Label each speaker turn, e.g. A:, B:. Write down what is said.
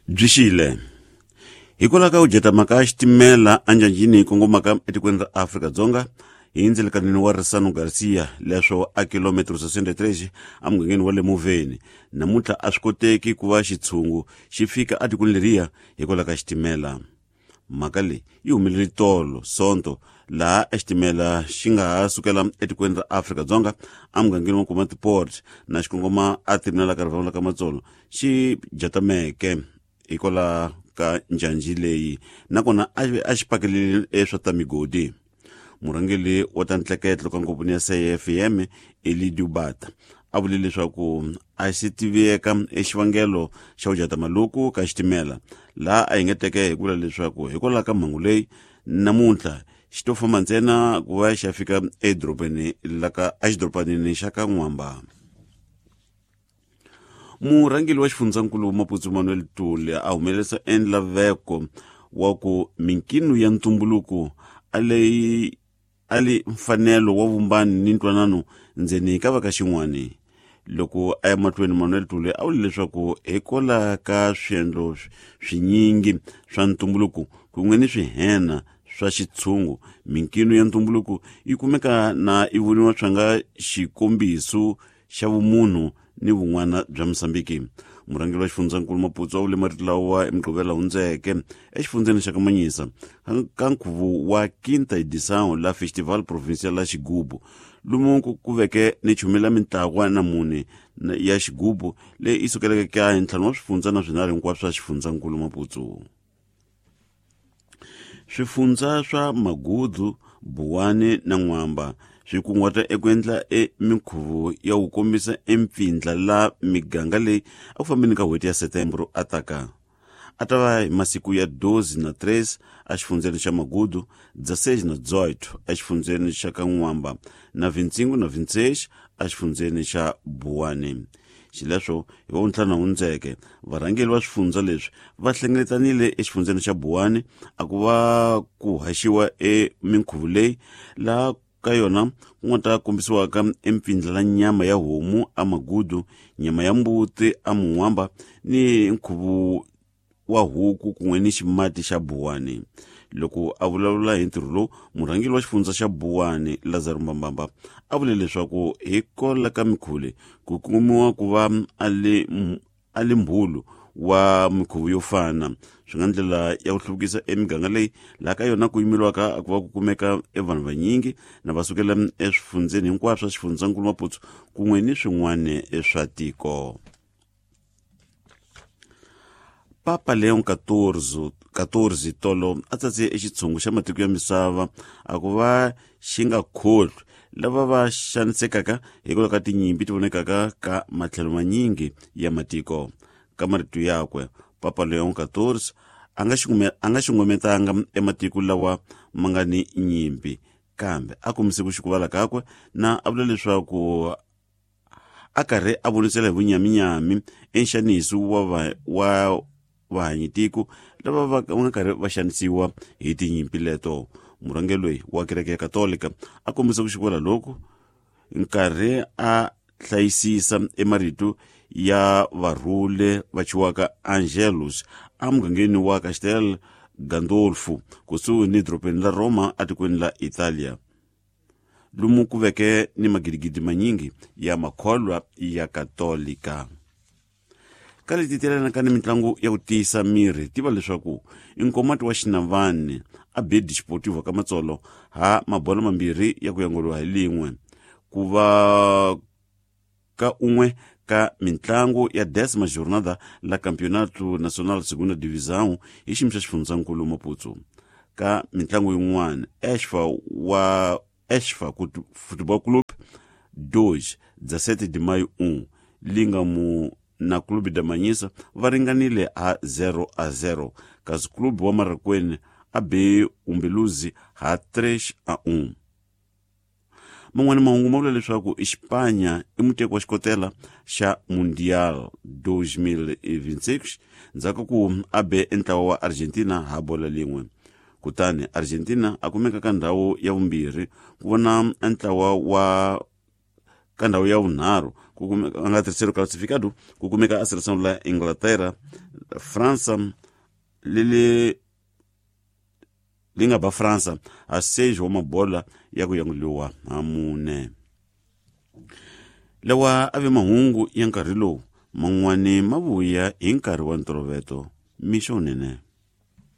A: Byi xile. Hikwalaho ka ku jatama ka xitimela enjanjini kongomaka etikweni ra Afrika-Dzonga hi ndzelekanini wa Risano Garcia leswo a kilometro 63 emugangeni wa le Moveni namuntlha a swi koteki ku va xitshungu xi fika etikweni leriya hikwalaho ka xitimela. Mhaka leyi yi humelele tolo Sonto laha exitimela xi nga ha sukela etikweni ra Afrika-Dzonga emugangeni wa Komatipoort na xi kongoma eterminal ka rivangu la ka Matsolo xi jatameke hikwalaho ka njhanji leyi nakona a xi pakelele eswa ta migodi. Murhangeri wa ta ntleketlo ka ngopfuni ya CFM Elidio Bata a vule leswaku a xi tiveka exivangelo xa ku jatama loku ka xitimela laha a engeteke hi ku vula leswaku hikwalaho ka mhangu leyi namuntlha xi to famba ntsena ku va xi ya fika edorobeni la ka exidorobanini xa ka N'wamba. Murhangeri wa xifundzankulu Maputsu Manuel Tuli a humelerisa enlaveko wa ku minkino ya ntumbuluko a leyi a li mfanelo wa vumbani ni ntwanano ndzeni ka va ka xin'wani. Loko a ya mahlweni Manuel Tuli a vule leswaku hikwalaho ka swiendlo swinyingi swa ntumbuluko kun'we ni swihena swa xitshungu minkino ya ntumbuluko yi kumeka na yi voniwa swa nga xikombiso xa vumunhu ni vun'wana bya Mozambiki. Murhangeri wa xifundzankulu Maputsu a vule marito lawa hi Mugqivela hundzeke exifundzeni xa Kamanyisa ka nkhuvo wa Quinta Edição la Festival Provincial la Xigubu lomu ku veke ni chumela mintlawa na mune ya xigubu leyi yi sukeleke ka hi ntlhanu wa swifundza na swinharhu hinkwaswo swa xifundzankulu Maputsu. Swifundza swa Magudu, Buwani na N'wamba swi kunguhata eku endla e minkhuvo ya ku kombisa empfindla la miganga leyi eku fambeni ka n'hweti ya Setembro a taka. A ta va hi masiku ya 12 na 13 exifundzeni xa Magudu, 16 na 18 exifundzeni xa ka N'wamba na 25 na 26 exifundzeni xa Buwani. Xileswo, hi Wavuntlhanu hundzeke, varhangeri va swifundza leswi va hlengeletanile exifundzeni xa Buwani a ku va ku haxiwa e minkhuvo leyi laha ka yona ku nga ta kombisiwaka empfindla la nyama ya homu a Magudu, nyama ya mbuti a Mun'wamba ni nkhuvo wa huku kun'we ni ximati xa Buwani. Loko a vulavula hi ntirho lowu, murhangeri wa xifundza xa Buwani, Lazaro Mbambamba, a vule leswaku hikwalaho ka mikhuvo leyi ku kumiwa ku va a li mbhulu wa mikhuvo yo fana swi nga ndlela ya ku hluvukisa emiganga leyi laha ka yona ku yimeliwaka ku va ku kumeka e vanhu vanyingi na va sukela eswifundzeni hinkwaswo swa xifundzankulu Maputsu kun'we ni swin'wana swa tiko. Papa Leon XIV tolo a tsatse exitshungu xa matiko ya misava a ku va xi nga kholwi lava va xanisekaka hikwalaho ka tinyimpi ti vonekaka ka matlhelo manyingi ya matiko. Ka marito yakwe, Papa Leon XIV a nga xungumetanga ematiko lawa ma nga ni nyimpi, kambe a kombise ku xukuvala kakwe na a vula leswaku a karhi a vonisela hi vunyaminyami enxaniso wa wa vahanyitiko lava va nga karhi va xanisiwa hi tinyimpi leto. Murhangeri loyi wa kereke ya Katolika a kombisa ku xivula loku nkarhi a hlayisisa emarito ya varhule va chiwaka Angelus emugangeni wa Castel Gandolfo kusuhi ni dorobeni la Roma etikweni la Italia, lomu ku veke ni magidigidi manyingi ya makholwa ya Katolika. Ka leti telanaka ni mitlangu ya ku tiyisa miri, tiva leswaku nkomati wa Xinavani a be Desportivo ka Matsolo ha mabolo mambirhi ya ku yanguriwa hi lin'we ku va ka un'we ka mitlangu ya décima jornada la Campeonato Nacional Segunda Divisão hi xiyimo xa xifundzankulu Maputsu. Ka mitlangu yin'wana, Exfa wa Exfa Futebol Clube 2, 17 de maio 1, Lingamu na Clube da Manhisa va ringanile ha 0-0, kasi Clube wa Marracuene a be Umbeluzi ha 3-1. Man'wana mahungu ma vula leswaku Xipanya i muteki wa xikotela xa Mundial 2026 ndzhaku ku a be entlawa wa Argentina ha bola lin'we. Kutani Argentina a kumeka ka ndhawu ya vumbirhi ku vona entlawa wa ka ndhawu ya vunharhu ku kumeka a nga terceiro classificado ku kumeka a seleção la Inglaterra França leli li nga ba França a 6 wa mabola ya ku yanguliwa ha mune. Lawa a ve mahungu ya nkarhi lowu man'wani ma vuya hi nkarhi wa ntolovelo mixo wunene.